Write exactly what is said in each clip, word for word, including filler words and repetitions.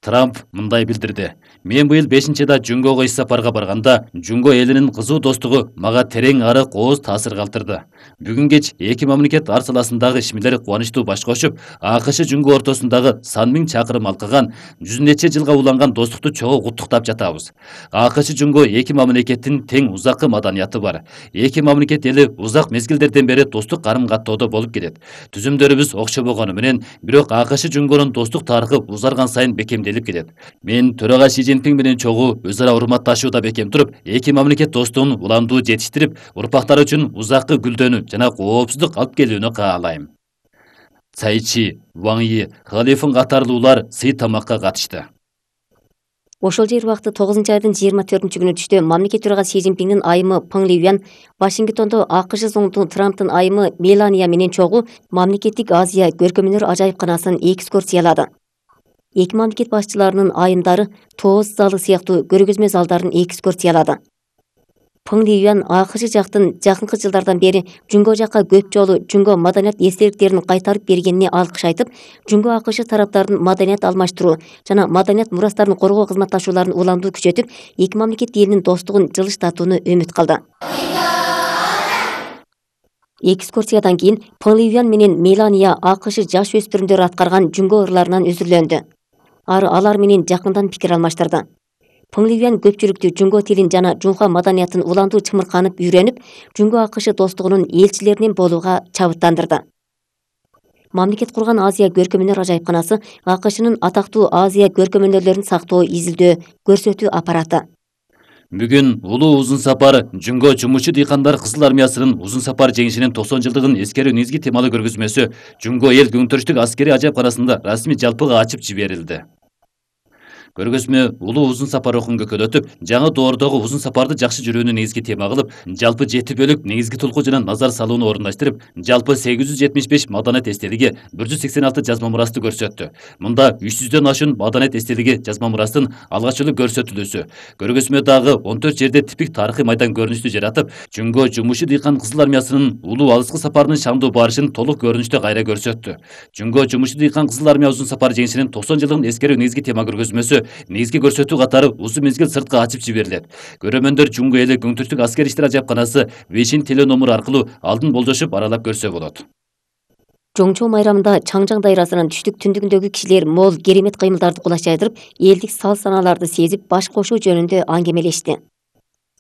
Трамп мындай билдирди. Мен быйыл бешинчи айда Жунгого иш сапарга барганда, Жунго элинин кызуу достугу мага терең арык ооз таасир калтырды. Бүгүн кеч эки мамлекет ар саласындагы ишмерлер кубанычтуу баш кошуп, АКШ Жунго ортосундагы сан миң чакырым алкаган, жүз нече жылга уланган достукту чогуу куттуктап жатабыз. АКШ Жунго эки мамлекеттин тең узаккы маданияты бар. Эки мамлекет эли узак мезгилдерден бери достук карым-каттоодо болуп келет. Түзүмдөрүбүз окшо болгону менен, бирок АКШ Жунгонун достук тарыхы узарган сайын бекемделип келет. Мен төрага Си Цзиньпин менен чогуу өз ара урматташууда бекем туруп, эки мамлекет достугун уламдуу жетиштирип, урпактар үчүн узаккы гүлдөнүү жана коопсуздук алып келүүнү каалайм. Цай Чи, Ван Yi, Халифин катарлуулар сый тамакка катышты. Ошол жер убакыты тогузунчу айдын жыйырма төртүнчү күнү түштө мамлекет төрагасы Си Цзиньпиндин айымы Пeng Liyuan Вашингтондо АКШ зондун Трамптын айымы Мелания менен чогуу мамлекеттик Азия көркөмөнөр ажайыпканасын экскурсиялады. Эки мамлекет башчыларынын айымдары тооз залы сыяктуу көргөзмө залдарын экскурсиялады. Пeng Liyuan АКШ жактын жакынкы жылдардан бери Жунго жакка көп жолу Жунго маданият эстеликтерин кайтарып бергенине алкыш айтып, Жунго АКШ тараптарын маданият алмаштыруу жана маданият мурастарын коргоо кызматташууларын уламдуу күчөтүп, эки мамлекет элинин достугун жылыштатууну үмүт кылды. Экскурсиядан кийин Peng Liyuan менен Мелания АКШ жаш өспүрүмдөр аткарган Жунго ырларынан үзүрлөндү. Ары алар менен жакындан пикир алмаштырды. Peng Liyuan көпчүлүктү Жунго тилин жана Жунха маданиятын уламдуу чымырканып үйрөнүп, Жунго АКШ достугунун элчилеринен болууга чабыттандырды. Мамлекет курган Азия көркөмөнөр ажайыпканасы АКШнын атактуу Азия көркөмөнөрлөрүн сактоо, изилдөө, көрсөтүү аппараты. Бүгүн улуу узун сапар Жунго жумушчу дыйкандар Кызыл армиясынын узун сапар жеңишинин токсон жылдыгын эскерүү негизги темалуу көргөзмөсү Жунго эл көңүтөрүштүк аскери ажайыпканасында расмий жалпыга ачып жиберилди. Көргөзмө улуу узун сапар окун көкөлөтүп, жаңы доордогу узун сапарды жакшы жүрүүнү негизги тема кылып, жалпы жети бөлүк негизги тулку жана назар салууну орундаштырып, жалпы сегиз жүз жетимиш беш маданият эстелиги, бир жүз сексен алты жазма мурасты көрсөттү. Мында үч жүздөн ашуун маданият эстелиги жазма мурастын алгачкы көрсөтүлүүсү. Көргөзмө дагы он төрт жерде типик тарыхый майдан көрүнүштү жаратып, Жунго жумушчу дыйкан Кызыл армиясынын улуу алыскы сапарынын шамдуу барышын толук көрүнүштө кайра көрсөттү. Жунго жумушчу дыйкан Кызыл армия узун сапар жеңишинин токсон жылдыгын эскерүү негизги тема көргөзмөсү негизги көрсөтүү катары узун мезгил сыртка ачып жиберилет. Көрөрмөндөр Жунго эли көңүтөрүштүк аскер иштер ажайыпканасы бешинчи теленомер аркылуу алдын болжошуп аралап көрсө болот. Жоңчу майрамында Чаңжаң дайрасынын түштүк түндүгүндөгү кишилер мол керемет кыймылдарды кулаш жайдырып, элдик сал санааларды сезип баш кошуу жөнүндө аңгемелешти.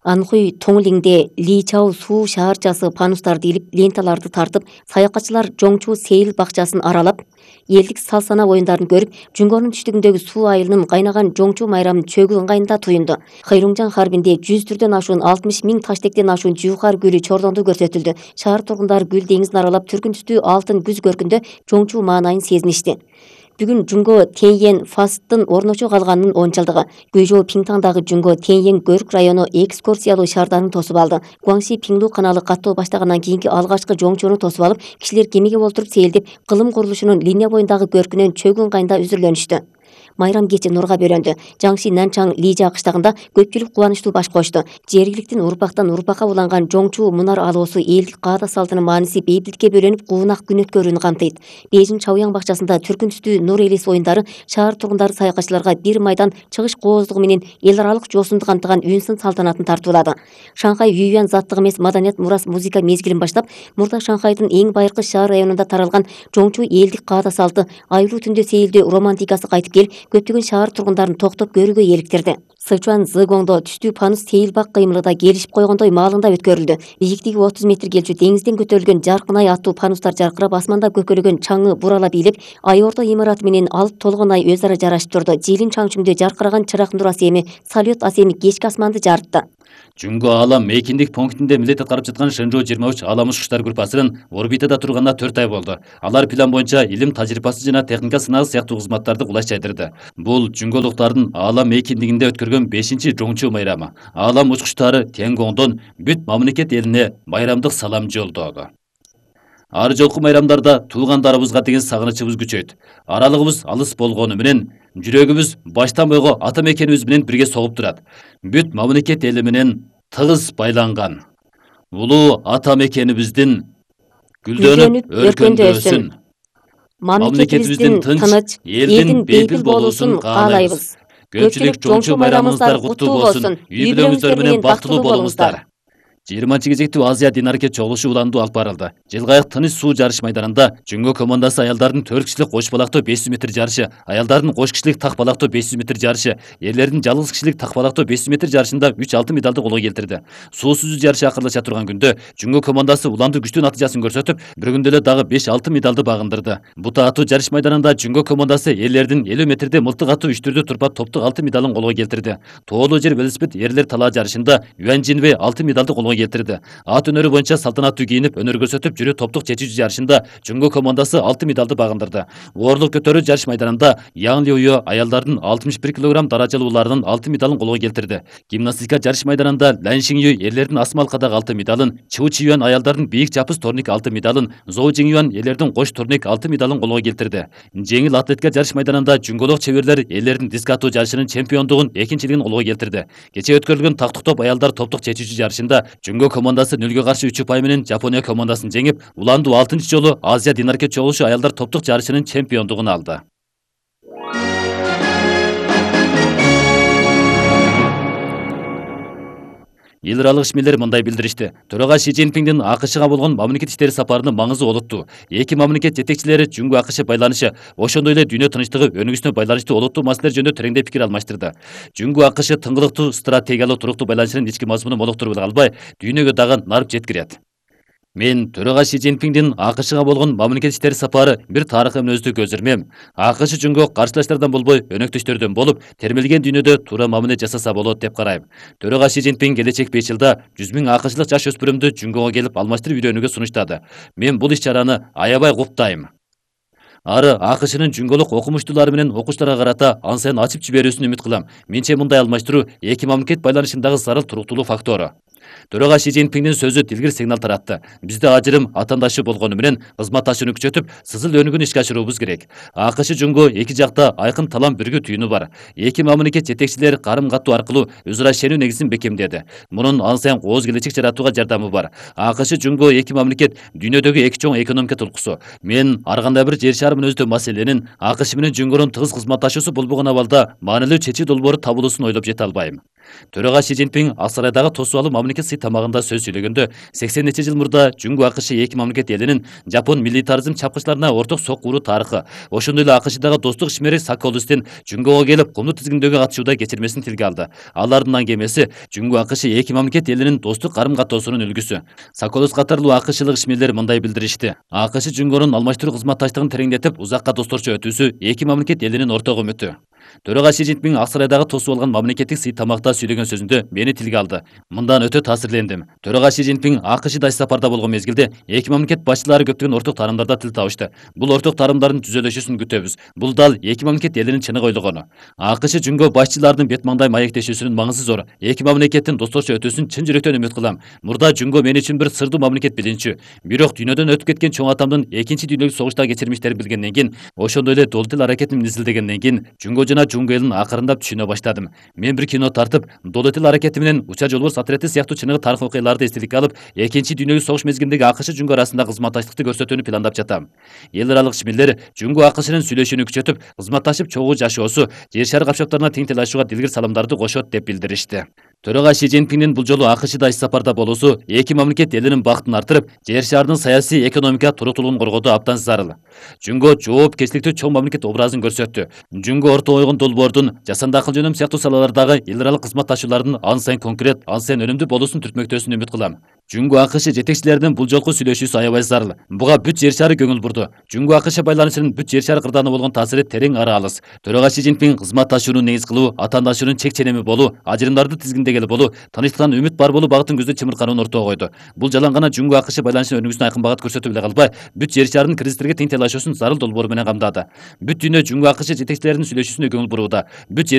Анхуй Тоңлиңде Ли Чао суу шаарчасы панустарды илип, ленталарды тартып, саякатчылар Жоңчу сейил бакчасын аралап, элдик сал сана оюндарын көрүп, Жунгонун түштүгүндөгү суу айылынын кайнаган Жоңчу майрамын чөгүү ыңгайында туюнду. Хайруңжаң харбинде жүз түрдөн ашуун алтымыш миң таштектен ашуун жуукар гүлү чордондуу көрсөтүлдү. Шаар тургундары гүл деңизин аралап, түркүн түстүү алтын күз көркүндө Жоңчу маанайын сезиништи. Бүгүн Жунго Теньен фасттын орночо калганынын он жылдыгы. Гүйжоо Пиңтаңдагы Жунго Теньен көрк району экскурсиялуу шаардарын тосуп алды. Гуаңси Пиңлу каналы каттоо баштагандан кийинки алгачкы Жоңчуну тосуп алып, кишилер кемеге олтуруп сейилдеп, кылым курулушунун линия боюндагы көркүнөн чөгүү ыңгайында үзүрлөнүштү. Майрам кечи нурга бөлөндү. Жаңши Нанчаң Лижа кыштагында көпчүлүк кубанычтуу баш кочту. Жергиликтин урпактан урпакка уланган Жоңчу мунар алоосу элдик каада салтынын мааниси бейбитlikке бөлөнүп, куунак күн өткөрүүнү камтыйт. Бейжиң Чаояң бакчасында түркүн түстүү нур элес оюндары шаар тургундары саякатчыларга бир майдан чыгыш кооздугу менен эл аралык жоосунду камтыган үнсын салтанатын тартуулады. Шанхай Юйюан заттык эмес маданият мурас музыка мезгилин баштап, мурда Шанхайдын эң байыркы шаар районунда таралган Жоңчу элдик каада салты, айлуу түндө сейилдөө романтикасы кайтып келип, көптөгөн шаар тургундарын токтоп көрүүгө эликтирди. Сычуан Зыгоңдо түштүү панус сейил бак кыймылы да келишип койгондой маалында өткөрүлдү. Бийиктиги отуз метр келчү деңизден көтөрүлгөн жаркын ай аттуу панустар жаркырап, асманда көкөлөгөн чаңы буралап ийилип, ай ордо имараты менен алып толгон ай өз ара жарашып турду. Жилин чаңчүңдө жаркыраган чырак нур асеми, салют асеми кечки асманды жарытты. Жунго Аалам мейкиндик пунктинде милдет аткарып жаткан Шэнжоу жыйырма үч Аалам учкучтар группасынын орбитада турганына төрт ай болду. Алар план боюнча илим тажрыйбасы жана техника сынагы сыяктуу кызматтарды кулаш жайдырды. Бул жунголуктардын Аалам мейкиндигинде өткөргөн бешинчи Жоңчу майрамы. Аалам учкучтары Тенгоңдон бүт мамлекет элине майрамдык салам жолдоду. Ар жолку майрамдарда туугандарыбызга деген сагынычыбыз күчөйт. Аралыгыбыз алыс болгону менен жүрөгүбүз баштан бойго ата мекенибиз менен бирге согуп турат. Бүт мамлекет эли менен тыгыз байланган. Улуу ата мекенибиздин гүлдөнүп өркөндөөсүн. мамлекетибиздин тыныч, элдин бейпил болуусун каалайбыз. Көпчүлүк чоңчу байрамыңыздар куттуу болсун. Үй бүлөңүздөр менен бактылуу болуңуздар. жыйырманчы кезектүү Азия дин аракет чогулушу уланду алып барылды. Жылгайык тыныч суу жарыш майданында Жүнгө командасы аялдардын төрт кишилик кош балактоо беш жүз метр жарышы, аялдардын кош кишилик так балактоо беш жүз метр жарышы, эрлердин жалгыз кишилик так балактоо беш жүз метр жарышында үч алтын медалды колго келтирди. Суу сүзүү жарышы акырлаша турган күндө Жүнгө командасы уланду күчтүү натыйжасын көрсөтүп, бир күндө эле дагы беш алтын медалды багындырды. Бута атуу жарыш майданында Жүнгө командасы эрлердин элүү метрде мылтык атуу үчтүрдө турпап топтук алтын медалын колго келтирди. Тоолуу жер велосипед эрлер талаа жарышында Юан Жинвей алтын медалды колго келтирди. Ат өнөрү боюнча салтанаттуу кийинип өнөр көрсөтүп жүрүү топтук чечүүчү жарышында Жүнгө командасы алтын медалды багындырды. Оорлук көтөрүү жарыш майданында Яң Лиуё аялдардын алтымыш бир килограмм даражалууларынын алтын медалын колго келтирди. Гимнастика жарыш майданында Лан Шинью эрлердин асма алкадагы алтын медалын, Чу Чиюан аялдардын бийик жапыс турник алтын медалын, Зоу Жиңюан эрлердин кош турник алтын медалын колго келтирди. Жеңил атлетика жарыш майданында жүнгөлүк чеберлер эрлердин диск атуу жарышынын чемпиондугун экинчилигин колго келтирди. Кечээ өткөрүлгөн тактык топ аялдар топтук чечүүчү жарышында Жүнгө командасы нөлгө каршы үч упай менен Жапония командасын жеңип, уланду алтынчы жолу Азия дин аракет чогулушу аялдар топтук жарышынын чемпиондугун алды. Эл аралык ишмерлер мындай билдиришти. Төрага Ши Цзиньпиндин АКШга болгон мамлекет иштери сапарынын маңызы олуттуу. Эки мамлекет жетекчилери Жүнгө АКШ байланышы, ошондой эле дүйнө тынчтыгы өнүгүүсүнө байланыштуу олуттуу маселелер жөнүндө тереңдеп пикир алмаштырды. Жүнгө АКШ тыңгылыктуу стратегиялык туруктуу байланышынын ички мазмунун молуктуруп эле калбай, дүйнөгө дагы нарып жеткирет. Мен төрага Ши Цзиньпиндин АКШга болгон мамлекет иштери сапары бир тарыхый мүнөздүү көзөрмөм. АКШ Жүнгө каршылаштардан болбой, өнөктөштөрдөн болуп, термелген дүйнөдө туура мамиле жасаса болот деп карайм. Төрага Ши Цзиньпин келечек беш жылда жүз миң АКШлык жаш өспүрүмдү Жүнгөгө келип алмаштырып үйрөнүүгө сунуштады. Мен бул иш-чараны аябай куттайм. Ары АКШнын жүнгөлүк окумуштуулары менен окуучуларга карата ан сайын ачып жиберүүсүн үмүт кылам. Менче мындай алмаштыруу эки мамлекет байланышындагы зарыл туруктуулук фактору. Төрага Ши Цзиньпиндин сөзү тилгир сигнал таратты. Бизде ажырым атаандашы болгону менен кызматташууну күчөтүп, сызыл өнүгүүнү ишке ашыруубуз керек. АКШ Жүнгө эки жакта айкын талам бүргүү түйүнү бар. Эки мамлекет жетекчилери карым-каттуу аркылуу өз ара ишенүү негизин бекемдеди. Мунун ан сайын кооз келечек жаратууга жардамы бар. АКШ Жүнгө эки мамлекет дүйнөдөгү эки чоң экономика толкусу. Мен ар кандай бир жер шары мүнөздүү маселенин АКШ менен Жүнгөнүн тыгыз кызматташуусу болбогон абалда маанилүү чечүү долбоору табылуусун ойлоп жете албайм. Төрага Ши Цзиньпин ак сарайдагы тосуп алуу мамлекет сый тамагында сөз сүйлөгөндө сексен нече жыл мурда Жүнгө АКШ эки мамлекет элинин жапон милитаризм чапкычыларына орток соккуруу тарыхы, ошондой эле АКШдагы достук ишмери Соколустин Жүнгөгө келип кумдуу тизгиндөгү катышууда кечирмесин тилге алды. Алардын аңгемеси Жүнгө АКШ эки мамлекет элинин достук карым-каттоосунун үлгүсү. Соколус катарлуу АКШлык ишмерлер мындай билдиришти. АКШ Жүнгөнүн алмаштыруу кызматташтыгын тереңдетип, узакка досторчу өтүүсү эки мамлекет элинин орток үмүтү. Төрага Ши Цзиньпин ак сарайдагы тосуп алган мамлекеттик сый тамакта сүйлөгөн сөзүндө мени тилге алды. Мындан өтө таасирлендим. Төрага Ши Цзиньпин АКШда иш сапарда болгон мезгилде эки мамлекет башчылары көптөгөн орток таарымдарда тил табышты. Бул орток таарымдардын түзөлүшүсүн күтөбүз. Бул дал эки мамлекет элинин чыныгы ойлогону. АКШ Жүнгө башчыларынын бет маңдай маектешүүсүнүн маңызы зор. Эки мамлекеттин досторчу өтүүсүн чын жүрөктөн үмүт кылам. Мурда Жүнгө мен үчүн бир сырдуу мамлекет билинчү. Бирок дүйнөдөн өтүп кеткен чоң атамдын экинчи дүйнөлүк согуштагы кечирмиштерин билгенден кийин, ошондой эле дол тил аракетин изилдегенден кийин, Жүнгө жана Жүнгө элин акырындап түшүнө баштадым. Мен бир кино тартып, дол тил аракети менен Уча жолборс отрети сыяктуу чыныгы тарых окуяларды эстеликке алып, экинчи дүйнөлүк согуш мезгилиндеги АКШ Жүнгө арасында кызматташтыкты көрсөтүүнү пландап жатам. Эл аралык ишмерлер Жүнгө АКШнын сүйлөшүүнү күчөтүп, кызматташып чогуу жашоосу, жер шары капчыктарына тең талашууга дилгир саламдарды кошот деп билдиришти. Төрага Ши Цзиньпиндин бул жолу АКШда иш сапарда болуусу эки мамлекет элинин бактын артырып, жер шарынын саясий экономика туруктуулугун коргоодо абдан зарыл. Жүнгө жоопкерчиликтүү чоң мамлекет образын көрсөттү. Жүнгө орто ойгон долбоордун, жасанды акыл жөнөм сыяктуу салалардагы эл аралык кызматташуулардын ан сайын конкрет, ан сайын өнүмдүү болуусун түртмөктөөсүн үмүт кылам. Жүнгө АКШ жетекчилеринин бул жолку сүйлөшүүсү аябай зарыл. Буга бүт жер шары көңүл бурду. Жүнгө АКШ байланышынын бүт жер шары кырдааны болгон таасири терең ары алыс. Төрага Ши Цзиньпин кызматташууну негиз кылуу, атаандашуунун чек ченеми болуу, ажырымдарды тизгиндегели болуу, тынчтыктан үмүт бар болуу багытын көздө чымырканууну ортого койду. Бул жалаң гана Жүнгө АКШ байланышынын өнүгүүсүнө айкын багыт көрсөтүп эле калбай, бүт жер шарынын кризистерге тең талашуусун зарыл долбоору менен камдады. Бүт дүйнө Жүнгө АКШ жетекчилеринин сүйлөшүүсүнө көңүл бурууда. Бүт жер